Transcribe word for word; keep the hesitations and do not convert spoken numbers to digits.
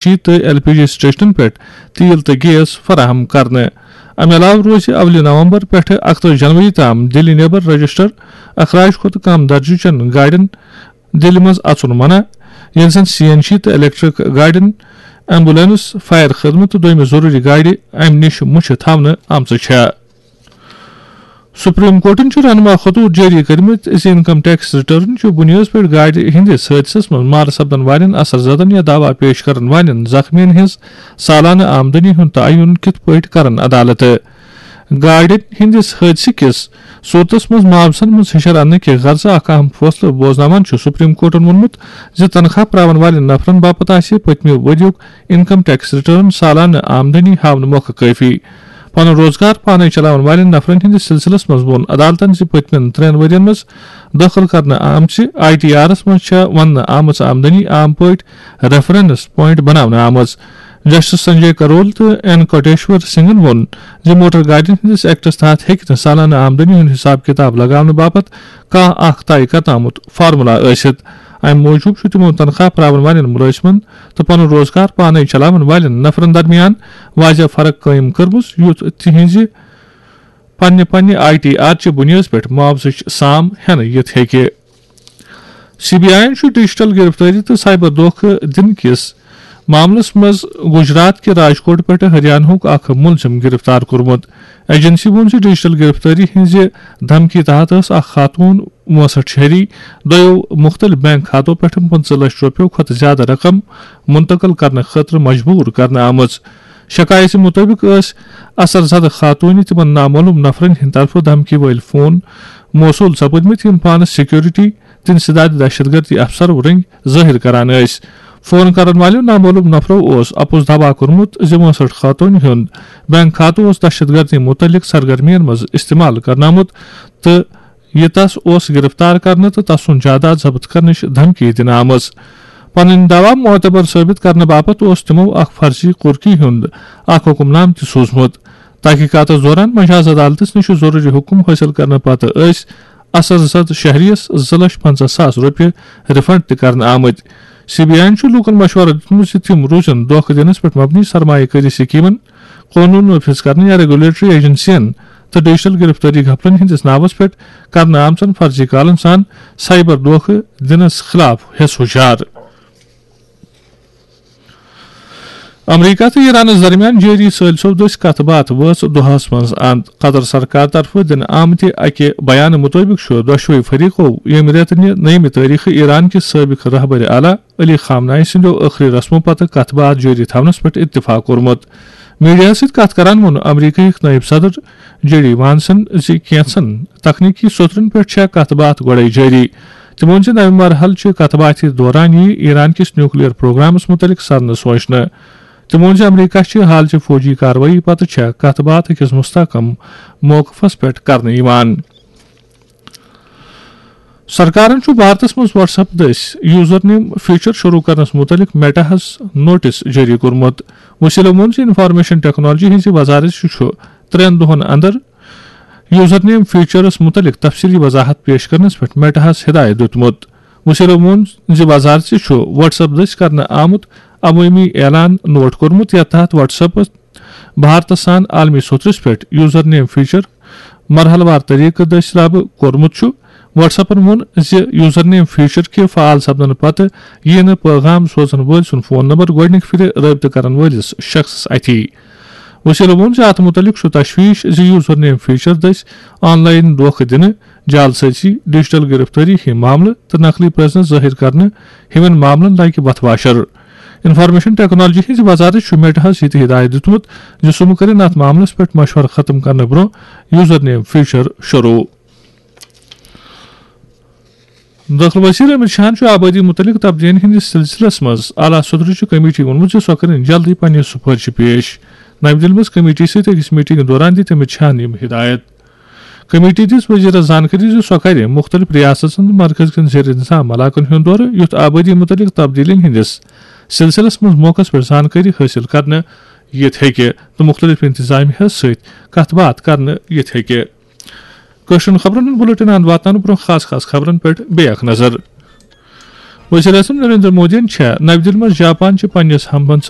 شیٖشہٕ تہٕ L P جی سٹیشنن پٮ۪ٹھ تیل تہٕ گیس فراہم کرنہٕ۔ امہِ علاوٕ روزِ اولہِ نومبر پٮ۪ٹھٕ اکتٲجی جنوری تام دِلہِ نٮ۪بر رجسٹر اخراج کھۄتہٕ کم درجہٕ چٮ۪ن گاڑٮ۪ن دِلہِ منٛز اژُن منع، ییٚلہِ زن سی این جی تہٕ الیکٹرک گاڑٮ۪ن، ایمبولینس، فائر خدمت تہٕ دوٚیمہِ ضروٗری گاڑِ امہِ نِش مُچھِ تھاونہٕ آمژٕ چھےٚ۔ سپریم کورٹن چھُ رہنما خطوط جٲری کٔرمٕتۍ زِ انکم ٹیکس ریٹرن چھُ بُنیٲدس پٮ۪ٹھ گاڑِ ہٕنٛدِس حٲدثس منٛز مارٕ سپدن والٮ۪ن اثر زدن یا دعویٰ پیش کرن والٮ۪ن زخمیَن ہٕنٛز سالانہٕ آمدنی ہُنٛد تعین کِتھ پٲٹھۍ کرن عدالت۔ گاڑِ ہٕنٛدِس حٲدثہٕ کِس صورتس منٛز معاوضن منٛز ہشر اننہٕ کہِ غرضہٕ اکھ اہم فٲصلہٕ بوزناوان چھُ سپریم کورٹن ووٚنمُت زِ تنخواہ پراون والٮ۪ن نفرن باپتھ آسہِ پٔتمہِ ؤریُک انکم ٹیکس ریٹرن سالانہٕ آمدنی ہاونہٕ مۄکھٕ کٲفی۔ پنُن روزگار پانے چلاون والٮ۪ن نفرن ہٕنٛدِس سلسلس منٛز ووٚن عدالتن زِ پٔتمٮ۪ن ترٛٮ۪ن ؤرین منٛز دٲخل کرنہٕ آمژِ آئی ٹی آرس منٛز چھےٚ وننہٕ آمٕژ آمدنی عام پٲٹھۍ ریفرنس پوائنٹ بناونہٕ آمٕژ۔ جسٹس سنجے کرول تہٕ این کوٹیشور سنگھن ووٚن زِ موٹر گاڑین ہٕنٛدِس ایکٹس تحت ہیٚکہِ نہٕ سالانہٕ آمدنی ہُنٛد حساب کتاب لگاونہٕ باپتھ کانٛہہ اکھ طے کرنہٕ آمُت فارمولا ٲسِتھ۔ امہِ موٗجوٗب چھُ تِمو تنخواہ پراون والٮ۪ن مُلٲزمن تہٕ پنُن روزگار پانے چلاون والٮ۪ن نفرن درمیان واضح فرق قٲیِم کٔرمٕژ، یُتھ تِہنٛزِ پننہِ پننہِ آئی ٹی آر چہِ بُنیٲدس پٮ۪ٹھ معاوضٕچ سام ہٮ۪نہٕ یِتھ ہیٚکہِ۔ سی بی آئی یَن چھُ ڈیجیٹل گرفتٲری تہٕ سائبر دھوکہٕ دِنہٕ کِس معاملس منٛز گجرات کہِ راجکوٹ پٮ۪ٹھٕ ہریانہُک اکھ مُلزِم گرفتار کوٚرمُت۔ ایجنسی ووٚن زِ ڈیجیٹل گرفتٲری ہٕنٛزِ دھمکی تحت ٲس اکھ خاتون، وُنسٹھ شہری، دۄیو مُختٔلِف بینک کھاتو پٮ۪ٹھ پٕنٛژٕہ لچھ رۄپیو کھۄتہٕ زِیٛادٕ رقم منتقل کرنہٕ خٲطرٕ مجبوٗر کرنہٕ آمٕژ۔ شکایتہِ مُطٲبِق ٲس اثر زدٕ خاتوٗنہِ تِمن نامعلوم نفرن ہٕنٛدِ طرفہٕ دھمکی وٲلۍ فون موصوٗل سپٕدمٕتۍ، یِم پانس سیکورٹی تہٕ انسداد دہشت گردی افسرو رٔنگۍ ظٲہِر کران ٲسۍ۔ فون کرن والٮ۪و نامعلوم نفرو اوس اپُز دعویٰ کوٚرمُت زِ وُنسٹھ خاتوٗنہِ ہُنٛد بینک کھاتہٕ اوس دہشت گردی مُتعلق سرگرمین منٛز استعمال کرنہٕ آمُت تہٕ یہِ تس اوس گرفتار کرنہٕ تہٕ تسُنٛد جائیداد ضبط کرنٕچ دھمکی دِنہٕ آمٕژ۔ پنٕنۍ دعویٰ معتبر ثٲبت کرنہٕ باپتھ اوس تِمو اکھ فرضی کُرکی ہُنٛد اکھ حکم نامہٕ تہِ سوٗزمُت۔ تحقیقاتس دوران مجاز عدالتس نِش ضروٗری حکم حٲصِل کرنہٕ پتہٕ ٲسۍ اثر زد شہریَس زٕ لچھ پنژاہ ساس رۄپیہِ ریفنڈ تہِ کرنہٕ آمٕتۍ۔ سی بی آئی یَن چھُ لوٗکَن مشورٕ دیُتمُت زِ تِم روزن دھوکہٕ دِنَس پٮ۪ٹھ مبنی سرمایہ کٲری سکیٖمَن، قونوٗن نافذ کرنہٕ یا ریگولیٹری ایجنسیَن تہٕ ڈیجیٹل گرفتٲری گھپلن ہٕنٛدِس ناوَس پٮ۪ٹھ کرنہٕ آمژن فرضی کالَن سان سائبر دھوکہٕ دِنَس خلاف ہٮ۪س ہُشار۔ امریکہ تہٕ ایرانَس درمیان جٲری ثٲلثو دٔسۍ کتھ باتھ وٲژ دۄہَس منٛز اند۔ قطر سرکار طرفہٕ دِنہٕ آمتہِ اَکہِ بیانہٕ مُطٲبِق چھُ دۄشوٕے فریقو ییٚمہِ رٮ۪تہٕ نہِ نٔیمہِ تٲریخہٕ ایران کہِ سٲبِق رہبر اعلیٰ علی خامنہ ای سٕنٛدیو ٲخری رسمو پتہٕ کتھ باتھ جٲری تھاونس پٮ۪ٹھ اتفاق کوٚرمُت۔ میڈیاہَس سۭتۍ کتھ کران ووٚن امریکہٕکۍ نٲیِب صدر جے ڈی وانسن زِ کینٛژن تکنیکی سوٚترن پٮ۪ٹھ چھےٚ کتھ باتھ گۄڈَے جٲری۔ تِمو ووٚن زِ نوِ مرحلہٕ چہِ کتھ باتھِ دوران یِیہِ ایران کِس نیوکلیئر پروگرامس مُتعلق سرنہٕ سوچنہٕ۔ تِمو ووٚن زِ امریکہ چھِ حالچہِ فوجی کاروٲیی پتہٕ چھےٚ کتھ باتھ أکِس مستحکم موقفس پٮ۪ٹھ کرنہٕ یِوان۔ سرکارن چھُ بھارتس منٛز WhatsApp دٔسۍ یوزر نیم فیچر شروع کرنس مُتعلق میٹاہَس نوٹس جٲری کوٚرمُت۔ وسیلو ووٚن زِ انفارمیشن ٹیکنالوجی ہٕنٛزِ وزارت چھُ ترٛٮ۪ن دۄہن اندر یوزر نیم فیچرس مُتعلق تفصیلی وضاحت پیش کرنس پٮ۪ٹھ میٹاہَس ہدایت دیُتمُت۔ وسیلو ووٚن زِ وزارت چھُ WhatsApp دٔسۍ کرنہٕ آمُت عوٲمی اعلان نوٹ کوٚرمُت، یتھ تحت WhatsApp بھارتس سان عالمی سوٚتھرِس پٮ۪ٹھ یوزر نیم فیچر مرحلہٕ وار طریقہٕ دٔسۍ لاگو کوٚرمُت چھُ۔ WhatsAppن ووٚن زِ یوزر نیم فیچر کہِ فعال سپدنہٕ پتہٕ یِیہِ نہٕ پیغام سوزن وٲلۍ سُنٛد فون نمبر گۄڈٕنِکہِ پھِرِ رٲبطہٕ کرن وٲلِس شخصس اَتھِ۔ وسیلو ووٚن زِ اتھ مُتعلق چھُ تشویش زِ یوزر نیم فیچر دٔسۍ آن لائن دھوکہٕ دِنہٕ، جعل سٲزی، ڈیجیٹل گرفتٲری ہٕنٛدۍ معاملہٕ تہٕ نقلی پرزنس ظٲہِر کرنہٕ ہِوٮ۪ن معاملن لگہِ وتھ واشر۔ انفارمیشن ٹیکنالوجی ہٕنٛزِ وزارت چھُ میٹاہَس یہِ تہِ ہدایت دیُتمُت زِ سُہ مہٕ کٔرِن اتھ معاملس پٮ۪ٹھ مشورٕ ختم کرنہٕ برٛونٛہہ یوزر نیم فیچر شروع۔ دٲخلہٕ وزیر امت شاہن چھُ آبٲدی مُتعلق تبدیلیَن ہٕنٛدِس سلسلس منٛز اعلیٰ سطحٕچہِ کمیٹی ووٚنمُت زِ سۄ کَرِ جلدی پننہِ سفارشہِ پیش۔ نَوِ دِلہِ منٛز کمیٹی سۭتۍ أکِس میٹنگ دوران دِتۍ امت شاہن یِم ہدایت۔ کمیٹی دِژ وزیرس زانکٲری زِ سۄ کَرِ مُختٔلِف ریاستن تہٕ مرکز کٮ۪ن زیر انتظام علاقن ہُنٛد دورٕ، یُتھ آبٲدی مُتعلق تبدیلیَن ہٕنٛدِس سلسلس منٛز موقعس پٮ۪ٹھ زانکٲری حٲصِل کرنہٕ یِتھ ہیٚکہِ تہٕ مُختٔلِف انتظامیہَس سۭتۍ کتھ باتھ کرنہٕ یِتھ ہیٚکہِ۔ کٲشرٮ۪ن خبرن ہُنٛد بُلٹن اند واتناونہٕ برٛونٛہہ خاص خاص خبرن پٮ۪ٹھ بیٚیہِ اکھ نظر۔ وزیر اعظم نریندر مودیَن چھےٚ نَوِ دِلہِ منٛز جاپان چہِ پننِس ہمبنسہٕ